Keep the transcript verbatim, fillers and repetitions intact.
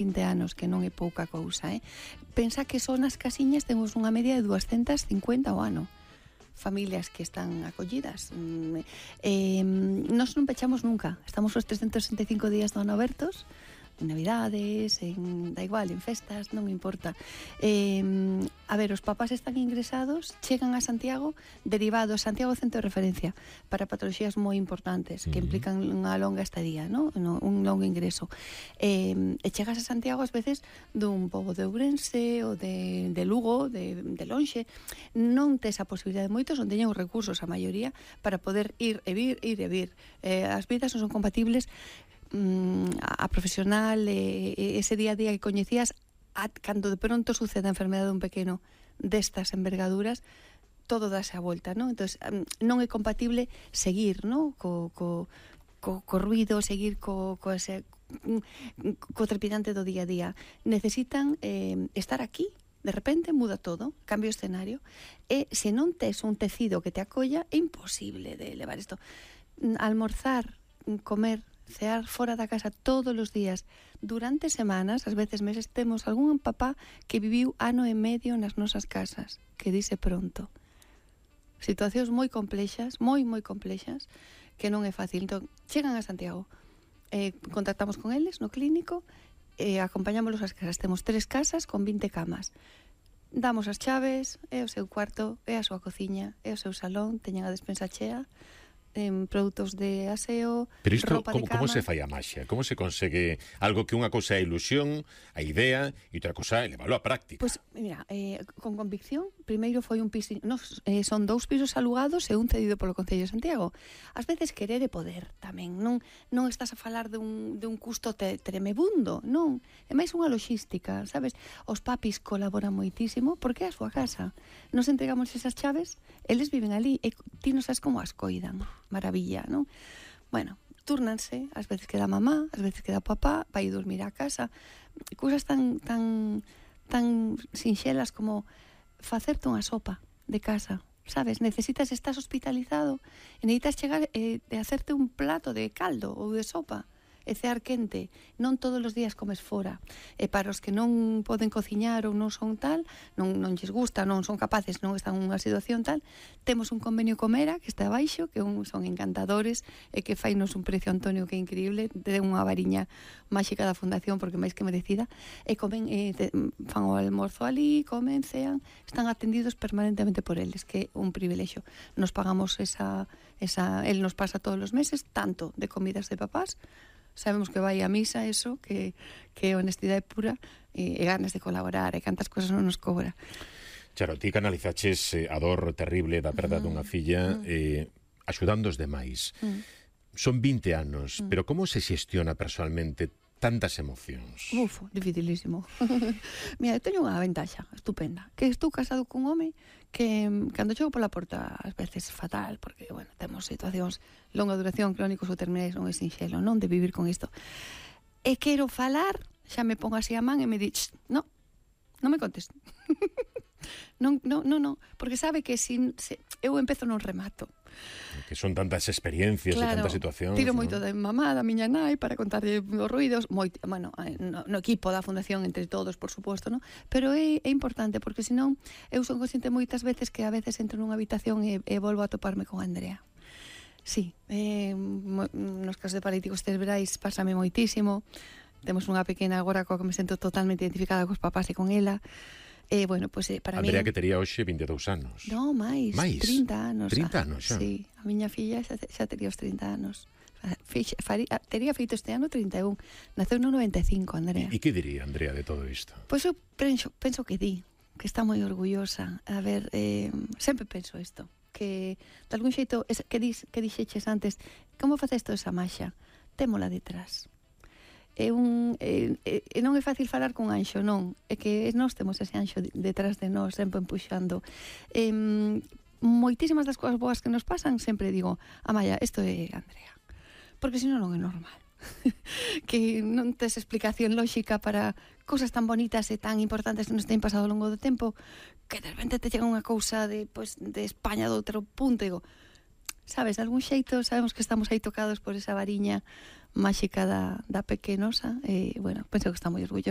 vinte anos, que non é pouca cousa, eh? Pensa que só nas casiñas temos unha media de doscientas cincuenta ao ano. Familias que están acollidas. Eh, nós non pechamos nunca. Estamos os trescentos sesenta e cinco días do ano abertos, en Navidades, en, da igual, en festas, non importa. Eh, a ver, os papás están ingresados, chegan a Santiago, derivados, Santiago Centro de Referencia, para patoloxías moi importantes, que implican unha longa estadía, ¿no? Un longo ingreso. Eh, e chegas a Santiago, ás veces, dun pobo de Ourense, ou de, de Lugo, de, de lonxe, non tes a posibilidade, moitos non teñen os recursos, a maioría, para poder ir e vir, ir e vir. Eh, as vidas non son compatibles, a profesional, eh, ese día a día que coñecías, a, cando de pronto sucede a enfermedade dun pequeno destas envergaduras, todo dase a volta, ¿no? Entonces, non é compatible seguir, ¿no? Co, co, co, co ruido, seguir co, co, ese, co trepidante do día a día. Necesitan eh, estar aquí. De repente muda todo, cambio o escenario, e se non tes un tecido que te acolla, é imposible de levar isto. Almorzar, comer, cear fora da casa todos os días durante semanas, ás veces meses, temos algún papá que viviu ano e medio nas nosas casas, que dice pronto. Situacións moi complexas, moi, moi complexas, que non é fácil. Entón, chegan a Santiago, eh, contactamos con eles no clínico, eh, acompañámolos ás casas. Temos tres casas con vinte camas. Damos as chaves, é o seu cuarto, é a súa cociña, é o seu salón, teñen a despensa chea, en produtos de aseo, pero isto, roupa como, de cama. Como se fai a maxia? Como se consegue algo que unha cousa é a ilusión, a idea, e outra cousa é leválo á práctica? Pois, pues, mira, eh, con convicción, primeiro foi un piso, nos, eh, son dous pisos alugados e un cedido polo Concello de Santiago. Ás veces querer é poder tamén, non non estás a falar de un, de un custo te, tremebundo, non, é máis unha logística, sabes? Os papis colaboran moitísimo porque é a súa casa. Nos entregamos esas chaves, eles viven ali e ti non sabes como as coidan. Maravilla, non? Bueno, túrnanse, ás veces queda mamá, ás veces queda papá, vai dormir á casa, cousas tan tan tan sinxelas como facerte unha sopa de casa, sabes? Necesitas, estás hospitalizado e necesitas chegar e eh, hacerte un plato de caldo ou de sopa e cear quente. Non todos os días comes fora, e para os que non poden cociñar ou non son tal, non, non lles gusta, non son capaces, non están nunha situación tal, temos un convenio Comera que está abaixo, que un, son encantadores e que fainos un precio, Antonio, que é increíble, te den unha variña máxica da fundación porque máis que merecida, e comen, e te, fan o almorzo ali, comen, cean, están atendidos permanentemente por eles, que é un privilexio. Nos pagamos esa, esa el nos pasa todos os meses tanto de comidas de papás, sabemos que vai a misa, eso, que, que é honestidade pura e, e ganas de colaborar, e cantas cosas non nos cobra. Charo, ti canalizaches eh, a dor terrible da perda mm. dunha filla mm. eh, axudando os demais. Mm. Son vinte anos, mm. pero como se xestiona personalmente tantas emocións? Uf, dificilísimo. Mira, eu teño unha ventaxa estupenda, que estou casado cun home que cando chego pola porta ás veces fatal, porque, bueno, temos situacións longa duración, crónicos ou terminais, non é sinxelo, non, de vivir con isto. E quero falar, xa me pongo así a man e me di, no, non me contes. non, non, non, non, porque sabe que se, se eu empezo non remato. Que son tantas experiencias, claro, e tantas situacións. Tiro ¿no? moito de mamá, da miña nai, para contarlle os ruidos, moito, bueno, no, no equipo da fundación, entre todos, por suposto, ¿no? Pero é, é importante, porque senón eu son consciente moitas veces que a veces entro nunha habitación e, e volvo a toparme con Andrea. Sí, eh, nos casos de paralíticos cerebrais pásame moitísimo. Temos unha pequena agora coa que me sento totalmente identificada cos papás e con ela. E, eh, bueno, pues, eh, para Andrea, mí... que tería hoxe vinte e dous anos. No, máis, máis? trinta anos. trinta anos xa? Sí, a miña filla xa, xa tería os trinta anos. Fixe, faría, tería feito este ano trinta e un. Naceu no noventa e cinco, Andrea. E que diría Andrea de todo isto? Pois pues eu penso, penso que di, que está moi orgullosa. A ver, eh, sempre penso isto, que de algún xeito, que, dis, que dixeches antes, como faceste esa maxa? Témola detrás. É un é, é, non é fácil falar con anxo, non, é que nós temos ese anxo detrás de nós sempre empuxando. Eh, moitísimas das cousas boas que nos pasan sempre digo, Amaya, isto é Andrea, porque senón non é normal. Que non tes explicación lóxica para cousas tan bonitas e tan importantes que nos ten pasado ao longo do tempo, que de repente te chega unha cousa de, pues, de España, de outro punto, e digo, sabes, de algún xeito sabemos que estamos aí tocados por esa variña máxica da, da pequenosa, e, bueno, penso que está moi orgullosa